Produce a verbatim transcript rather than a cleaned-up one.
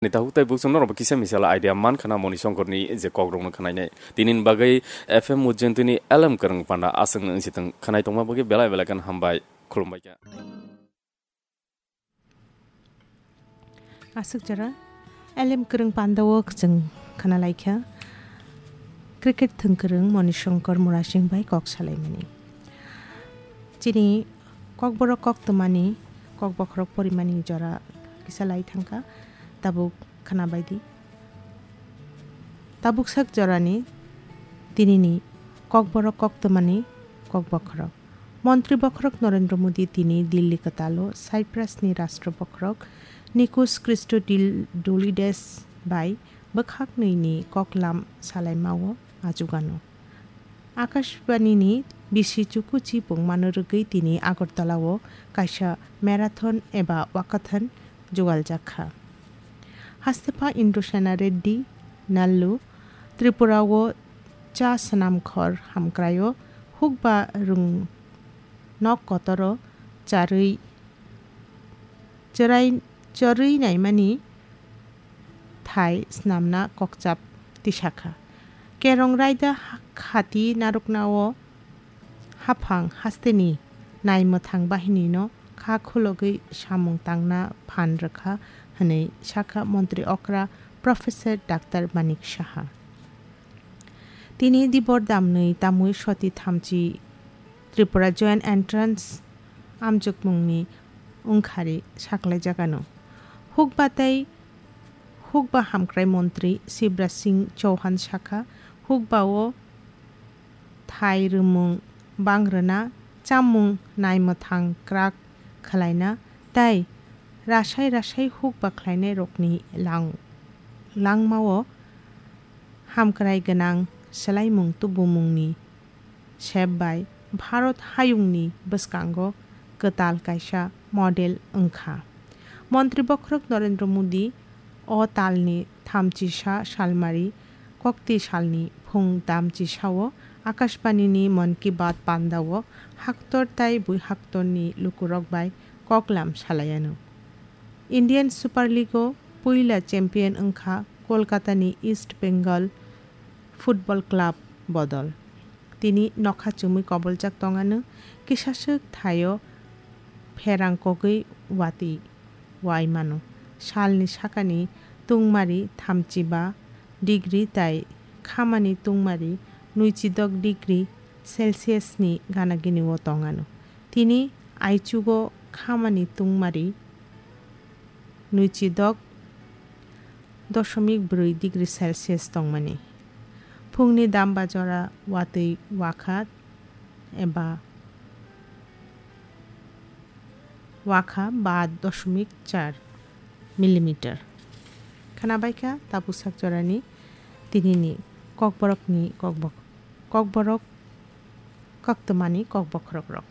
Ni tabuk tei buksong norok bo kisa misala idea man khana Moni Songkorni je kokrokno khwnainai. Tinini bagwi F M Mujentini Elem Kwrwng Panda aswk nung sitwng khwnai tongma bagwi belai belai kheno hambai khulumbai kha. Aswk jora Elem Kwrwng Panda o chwng khwnalaikha cricket thwngkwrwng Moni Songkor Murasing bai kok salaimani. Chini kokborok koktwmani kokbokhorok porimani jora kisa lai thangkha, tabuk khwnabaidi. Tabuk sak jorani tinini kokborok koktwmani kokbokhorok. Montri bokhorok Narendra Modi tini Delhi kwtalo Cyprusni Rashtra bokhorok Nikos Christodoulides bai bwkhak nwini koklam salaimao achugano. Akashbanini bisi chukuchi pungmano rwgwi tini Agartala-o kaisa marathon eba walkathon jugaljak kha. Hastepha Indrasena Reddy Nallu Tripura-o cha swnamkhor hamkraio hukba rwng nok kotoro charwi chwrai-, chorwi naimani thai snamna kokchap tisakha. Kerong raida ha-, khati narwknao haphang hasteni naimwthang bahinino kha khulogwi samung tangna phan rwkha hwnwi sakha montri okra Professor Doctor Manik Saha. Tini dibor damnwi tamwi soti thamchi Tripura Joint Entrance amjokmungni wngkhari saklaijagano. Hukba tei hukba hamkrai montri Shivraj Singh Chauhan sakha, hukbao thai rwmung bangrwna, chamung naimwthang kwrak khwlaina tei rasai rasai hukba khlainairokni lang-, langmao hamkrai gwnang swlaimung tubumungni sep bai Bharat hayungni bwskango kwtal kaisa model wngkha. Montri bokhorok Narendra Modi o talni thamchisa salmari kokti salni phung tamchisao Akashbanini Mann Ki Baat pandao haktor tai bui haktorni lukurok bai koklam salaiano. Indian Super League-o puila champion wngkha Kolkatani East Bengal Football Club bodol. Tini nokha chumui koboljak tongano, kisaswk thaio pherang kogwi watwi wai mano. Salni sakani tungmari thamchiba degree tai khamani tungmari nuichidok degree Celsius ni gana gini o tongano. Tini aichugo khamani tungmari nuichidok dosomik brwi degree Celsius tongmani. Phungni damba jora watwi wakha eba wakha ba dosomik char millimeter. Khwnabaikha tabuk sak jorani tinini kokborokni kokbok-, kokborok koktwmani kokbokhorokrok.